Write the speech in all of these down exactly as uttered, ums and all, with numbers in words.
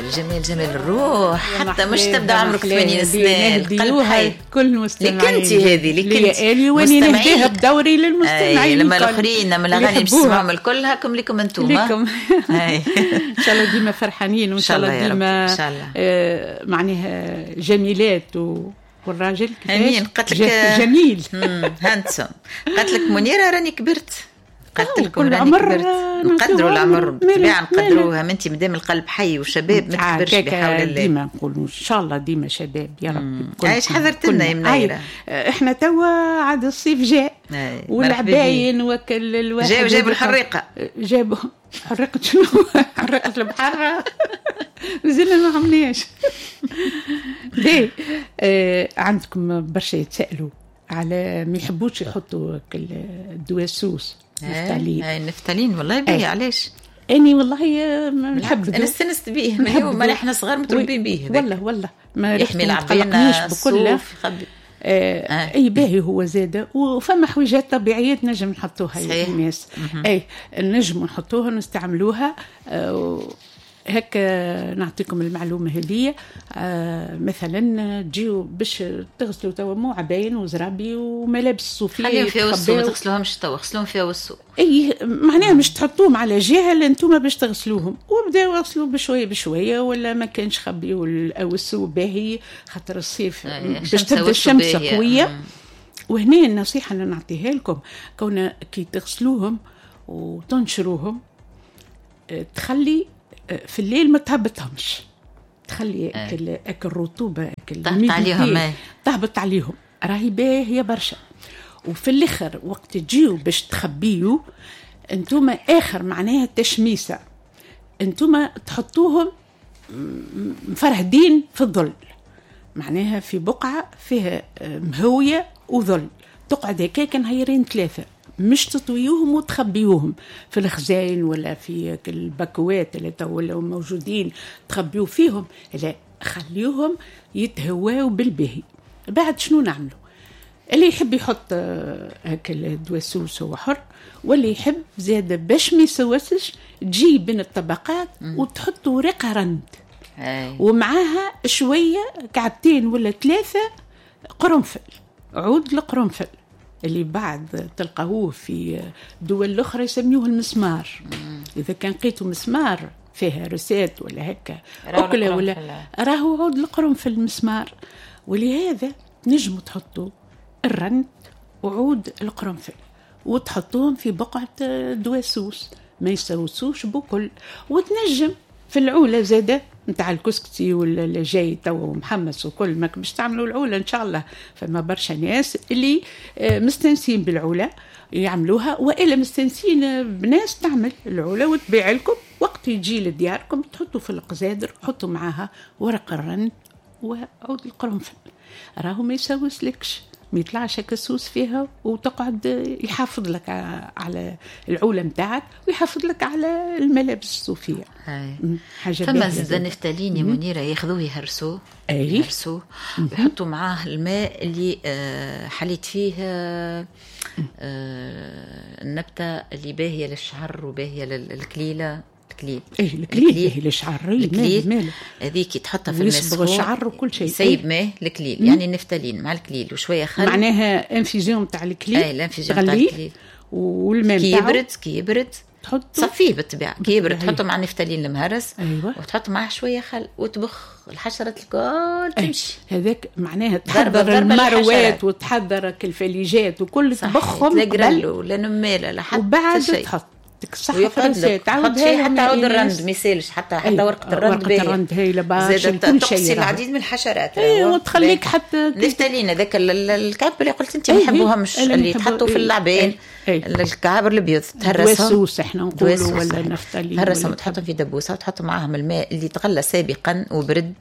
الجمال جمال الروح، حتى مش تبدا عمرك ثمانين سنة القلب حي. كل المستمعين لك انت هذه، لك انت لي واني نهديها بدوري للمستمعين. لما الاخرين من الاغاني باش تسمعهم الكل هاكم لكم انتم. لكم ان شاء الله ديما فرحانين، وان شاء الله ديما إن شاء الله. آه معناها جميلات و والراجل امين. قالت لك جميل handsome. قالت لك منيرة راني كبرت، قالت لكم راني كبرت. نقدروا العمر بالطبيعة نقدروها، ما انت مادام القلب حي وشباب ما تكبرش بحول الله. ديما نقولوا ان شاء الله ديما شباب يا رب. عايش حضرت لنا يا منيرة. احنا توا عاد الصيف جاء والعباين وكل الواحد جاوا جابوا الحريقه، جابوا حريقة شنو؟ حريقة البحر مازلنا ما عملناش. ليه آه عندكم برشا يتسالوا على ما يحبوش يحطوا الدواء السوس نفتالين. اي النفتالين والله باهي. علاش؟ اني والله ما نحب، انا استنست به من يوم ما احنا صغار متربين به. والله والله ما يحمي العبينه بكل آه آه. اي باهي هو زاده. وفما حويجات طبيعية نجم نحطوها للناس، اي نجم نحطوها نستعملوها. آه هكا نعطيكم المعلومة هذه. آه مثلا تجيو باش تغسلوا توا مو عباين وزرابي وملابس صوفية، خليهم فيها وسو، ما تغسلوهمش توا، غسلوهم فيها وسو. اي معناها مش تحطوهم على جهة اللي انتم باش تغسلوهم، وبداو غسلوا بشوية بشوية، ولا ما كانش خبيوا الاوسو باهي خاطر الصيف باش تبدا الشمس قوية. وهنا النصيحة اللي نعطيها لكم، كون كي تغسلوهم وتنشروهم تخلي في الليل ما تهبطهمش، تخلي اكل اكل الرطوبة اكل تهبط عليهم، تهبط عليهم راهي باهيه برشا. وفي الاخر وقت تجيو باش تخبيو انتوما اخر معناها التشميسه، انتوما تحطوهم مفرهدين في الظل، معناها في بقعة فيها مهويه وظل، تقعد هكاك نهيرين ثلاثة، مش تطويوهم وتخبيوهم في الخزاين ولا في الباكوات اللي تو موجودين تخبيو فيهم، لا خليوهم يتهواو بالبهي. بعد شنو نعملوا؟ اللي يحب يحط هكا الدواء السوس هو حر، واللي يحب زاد باش ما يسوسش تجي بين الطبقات وتحط ورقة رند ومعاها شوية كعبتين ولا ثلاثة قرنفل، عود القرنفل اللي بعد تلقاهوه في دول الأخرى يسميوه المسمار. مم. إذا كان لقيتوا مسمار فيها recette ولا هكا أكلة ولا راهو عود القرنفل المسمار. ولهذا نجموا تحطوا الرند وعود القرنفل وتحطوهم في بقعة دواء سوس ما يسوسوش بكل. وتنجم في العولة زادة نتاع الكسكسي ولا اللي جاي تو محمص وكل ما باش تعملوا العولة ان شاء الله. فما برشا ناس اللي مستنسين بالعولة يعملوها، والا مستنسين بناس تعمل العولة وتبيع لكم وقت يجي لدياركم تحطوا في القزادر، حطوا معاها ورق الرند وعود القرنفل، راهو ما يسوسلكش، ما يطلعش السوس فيها، وتقعد يحافظ لك على العولة متاعك ويحافظ لك على الملابس الصوفية. حاجة فما زاد النفتالين يا منيرة ياخذوه يهرسوه، يهرسوه ويحطوا معاه الماء اللي حليت فيه النبتة اللي باهية للشعر وباهية للكليلة. الكليل ايه الكليل باهي للشعر، الكليل هذيك تحطها في الماء يصبغ الشعر وكل شيء، سيب ماء الكليل يعني النفتالين مع الكليل وشوية خل، معناها infusion تاع الكليل. اي ال infusion تاع الكليل والماء كي يبرد، كي يبرد تحط تصفية بالطبيعة، كي يبرد تحطه مع النفتالين المهرس. أيوة. وتحط معاه شوية خل وتبخ الحشرات الكل تمشي. هذاك معناها تحضر المروات وتحضر الفليجات وكل تبخهم لا قرلو لا نماله لا حتى وبعد تحط صح فرسات تعاود شيء حتى عود الرند ما يسالش، حتى حتى ورقة الرند ورقة الرند هايلة باش كل شيء العديد من الحشرات. ايوه وتخليك حتى نفتالين هذاك الكعب اللي قلت انت ما يحبوهمش اللي يتحطوا في العبين، الكعب الابيض تهرسهم دوسوس احنا نقولوا ولا نفتالين، تهرسهم وتحطهم في دبوسه وتحط معاهم الماء اللي تغلى سابقا وبرد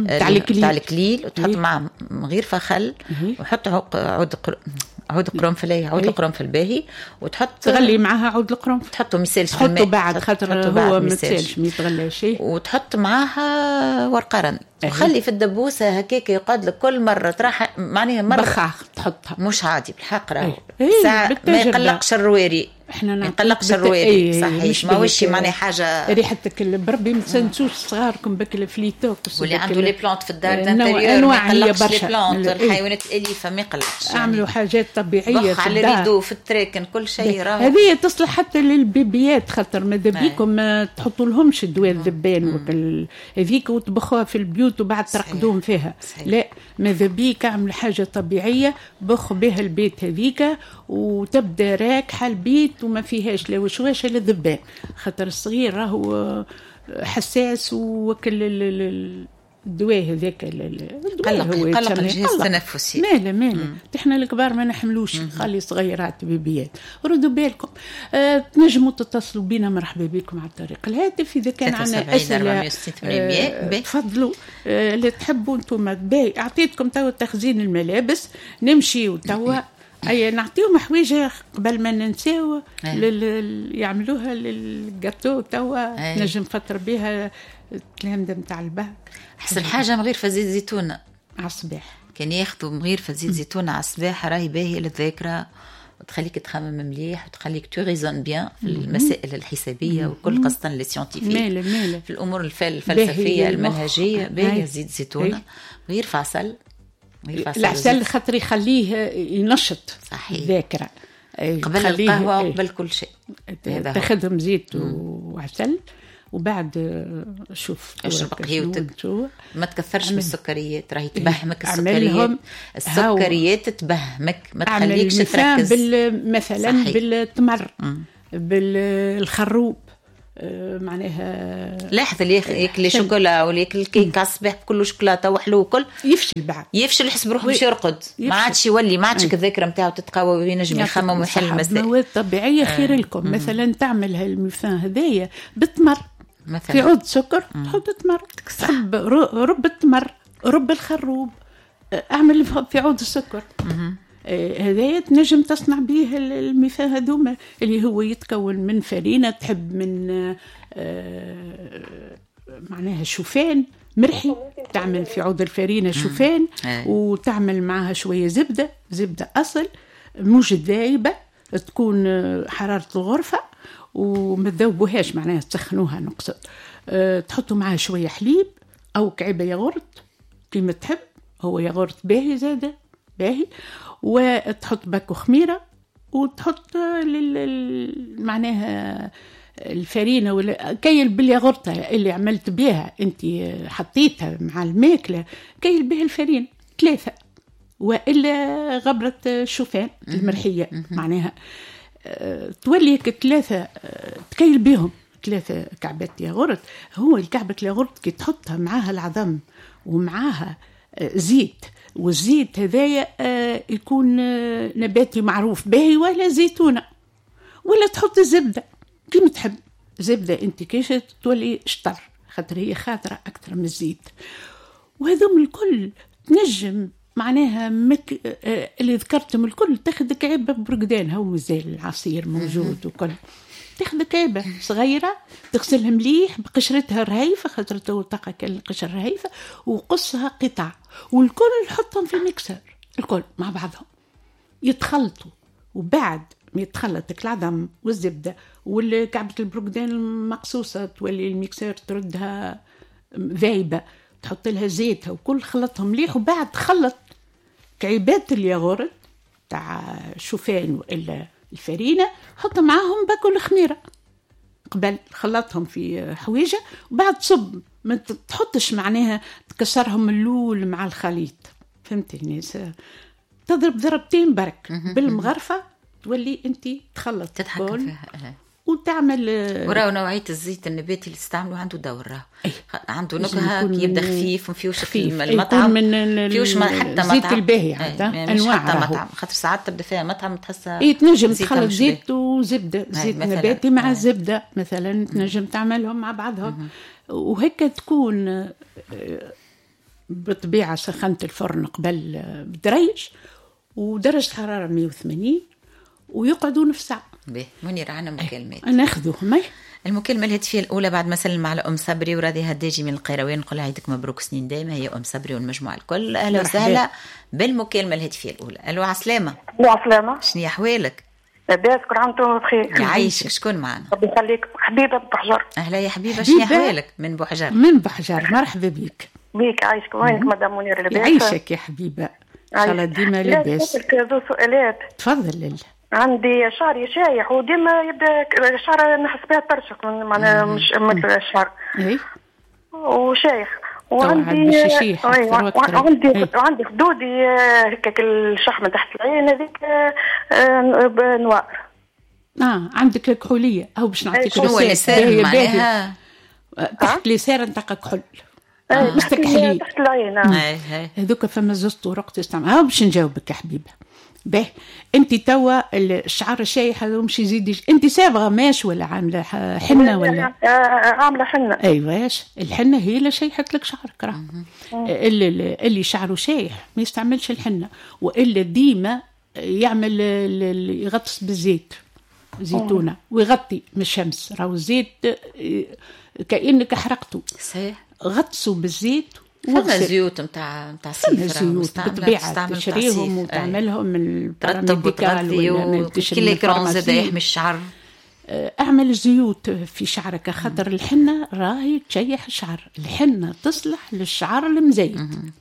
تاع الكليل، وتحط معاهم غير خل، وحط عود عود قرنفل، عود القرنفل باهي، وتحط تغلي معاها عود القرنفل، تحطه ميسالش في الماء، تحطه بعد خاطر هو ما يتسالش ما يتغلاش، وتحط معاها ورقة رند، وخلي في الدبوسه هكاك يقعد لك كل مرة تراح معناها مرة بخاخ تحطها مش عادي بالحق راهو ساعة ما يقلقش الرواري. احنا ما يقلقش الرواري. صحيح، ماهوش معناها حاجة ريحتك بربي ما تسنسوش صغاركم بك الفليتوكس واللي عنده les plantes في الدار d'intérieur ما يقلقش les plantes، الحيوانات الاليفة ما يقلقش. اعملوا حاجات طبيعية في على ال rideau في التراكن كل شيء. راه هذه تصلح حتى للبيبيات، خاطر ماذا بيكم ما تحطوا لهمش دواء الذبان هذيك وتبخوها في البيوت وبعد ترقدوهم فيها. صحيح. لا ماذا بيك اعمل حاجة طبيعية بخ بها البيت هذيك وتبدا راكحه البيت وما فيهاش لا وشواشه لا ذبان، خاطر الصغير راهو حساس وكل الدواء هذاك قلق قلق الجهاز التنفسي. مالا مالا احنا الكبار ما نحملوش، خلي صغيرات بيبيات. ردوا بالكم. أه تنجموا تتصلوا بينا، مرحبا بكم على طريق الهاتف اذا كان عندنا اسئلة. أه تفضلوا. أه اللي تحبوا انتم. باهي اعطيتكم توا تخزين الملابس، نمشيو توا اي نعطيهم حويجه قبل ما ننساو لل... يعملوها للجاتو توا نجم فتر بها التلامذه نتاع الباك. احسن حاجة مغيرفه زيت زيتونه على الصباح، كان ياخذوا مغيرفه زيت زيتونه على الصباح راهي باهيه للذاكرة وتخليك تخمم مليح وتخليك tu raisonnes bien في المسائل الحسابيه وكل، خاصة les scientifiques في الامور الفلسفية المنهجية. باهيه زيت زيتونه، مغيرفه عسل. العسل خاطر يخليه ينشط الذاكرة قبل القهوة وقبل كل شيء. تاخذهم زيت وعسل وبعد شوف اشرب قهوتك، ما تكثرش من السكريات راهي تبهمك السكريات. السكريات تبهمك ما تخليكش تركز. بال مثلا صحيح. بالتمر بالخروب معناها. لاحظ اللي ياكل شوكولا ولا ياكل الكيك على الصباح كله شوكولاتة وحلو وكل يفشل بعد، يفشل يحس بروحه باش يرقد، ما عادش يولي ما عادش الذاكرة نتاعو تتقوى وينجم يخمم ويحل المسائل. مواد طبيعية خير لكم. مثلا تعمل هالميفان هذايا بالتمر مثلا، في عود سكر تحط تمر، تحب رب التمر رب الخروب، اعمل في عود السكر هذايا تنجم تصنع به الميفان هذوما اللي هو يتكون من فرينة، تحب من معناها شوفان مرحي، تعمل في عود الفرينة شوفان وتعمل معها شوية زبدة، زبدة أصل مش ذايبة، تكون حرارة الغرفة وما تذوبوهاش معناها تسخنوها نقصد. تحطوا معها شوية حليب أو كعبة ياغورت كيما تحب، هو ياغورت باهي زادة باهي، وتحط باكو خميرة وتحط لل... معناها الفرينة ولا كيل بالياغورت اللي عملت بها انت حطيتها مع الماكلة، كيل بها الفرينة ثلاثة وإلا غبرة الشوفان المرحية معناها تولي ثلاثة، تكيل بهم ثلاثة كعبات ياغورت. هو الكعبة الياغورت كي تحطها معاها العظم ومعاها زيت، والزيت هذايا يكون نباتي معروف باهي ولا زيتونة، ولا تحط الزبدة كيما تحب. زبدة انت كيش تولي شطر خاطر هي خاطرة أكثر من الزيت. وهذوم الكل تنجم معناها مك... اللي ذكرتهم الكل تاخذ كعبة برقدان، هو مازال العصير موجود وكل، تاخذ كعبة صغيرة تغسلها مليح بقشرتها الرهيفة خاطر تو تلقى القشرة الرهيفة، وقصها قطع والكل حطهم في الميكسر الكل مع بعضهم يتخلطوا. وبعد ما يتخلط العظم والزبدة والكعبة البرقدان المقصوصة تولي ال mixeur تردها ذايبة، تحط لها زيتها وكل خلطهم مليح. وبعد خلط كعبات الياغورت تاع شوفان والا الفرينة، حط معاهم باكل خميره قبل، خلطهم في حويجه وبعد صب، ما تحطش معناها تكسرهم اللول مع الخليط، فهمتي الناس؟ تضرب ضربتين برك بالمغرفه تولي انت تخلط تتحكم فيها وتعمل. وراو نوعية الزيت النباتي اللي تستعمله عنده دور، راه عنده نكهة يبدا خفيف وما فيهوش المطعم، من فيهوش حتى مطعم الزيت الباهي حتى انواع حتى مطعم، خاطر ساعات تبدا فيها مطعم تحسها اي تنجم تخلط زيت وزبده، زيت نباتي مع الزبدة مثلا تنجم تعملهم مع بعضهم. وهيك تكون بالطبيعة سخنت الفرن قبل بدريج ودرجة حرارة مية وثمانين ويقعدوا نص ساعة. به منير عنا مكالمات ناخذوهم. المكالمة الهاتفية الأولى بعد ما سلم على أم صبري وراضي هداجي من القيروان، نقول عيدك مبروك سنين دايمة، هي أم صبري والمجموعة الكل. أهلا وسهلا بالمكالمة الهاتفية الأولى. ألو عسلامة. ألو عسلامة، شنو أحوالك؟ لاباس، كل عام وانتم بخير. يعيشك. شكون معنا؟ ربي يخليك، حبيبه بوحجر. اهلا يا حبيبه، شنو احوالك من بوحجر؟ من بوحجر، مرحبا بك. بيك عايشك، وينك مدام منير؟ لاباس؟ يعيشك يا حبيبه، ان شاء الله ديما لاباس. زوز سؤالات. تفضل لله. عندي شعري شايح وديما يبدا شعر نحس بها ترشق، معناها مش مثل الشعر. اي وشايح وعندي وعندي وعندي خدودي هكاك الشحمه تحت العين هذيك آه، noir. اه عندك كحوليه او باش نعطيك شنو les cernes معناها؟ تحت les cernes تلقى كحل مستكحلين. تحت العين. هذوك فما زوج طرق تستعمل. ها باش نجاوبك يا حبيبه. باهي، انت توا الشعر الشايح هذا مش يزيد، انت صابغه ماش ولا عامله حنة ولا؟ آه، عامله حنه. ايواش، الحنة هي اللي شيحت لك شعرك. راه اللي, اللي شعره شايح ما يستعملش الحنه، والا ديما يعمل يغطس بالزيت زيتونه ويغطي من الشمس. راهو الزيت آه، كانك حرقته. صحيح. غطسوا بالزيت. فما زيوت نتاع نتاع صيف. زيوت بالطبيعه، تشريهم وتعملهم من ترطب وتغذي، وكل l'écran زاد يحمي الشعر. آه، اعمل زيوت في شعرك، خاطر الحنة راهي تشيح الشعر. الحنة تصلح للشعر المزيت،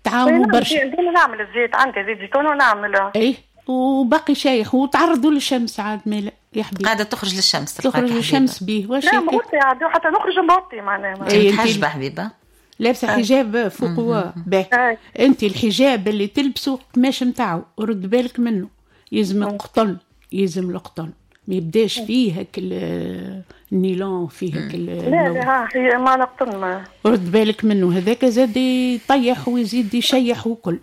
تعاونوا برشا. ديما نعمل الزيت، عندي زيت زيتون ونعمل. ايه، وباقي شايح وتعرضوا للشمس عاد مالا يا حبيبي. قاعدة تخرج للشمس؟ تخرج للشمس به. واش لا مغطي عاد، حتى نخرج مغطي معناها. إيه متحجبه حبيبه؟ لابسه حجاب فوق. باه، انت الحجاب اللي تلبسه قماش نتاعو رد بالك منه، يلزم القطن، يلزم القطن، ما يبداش فيه هك النيلون، فيه هك. لا لا، هي ما نقطن ما رد بالك منه، هذاك زاد يطيح ويزيد يشيح وكل.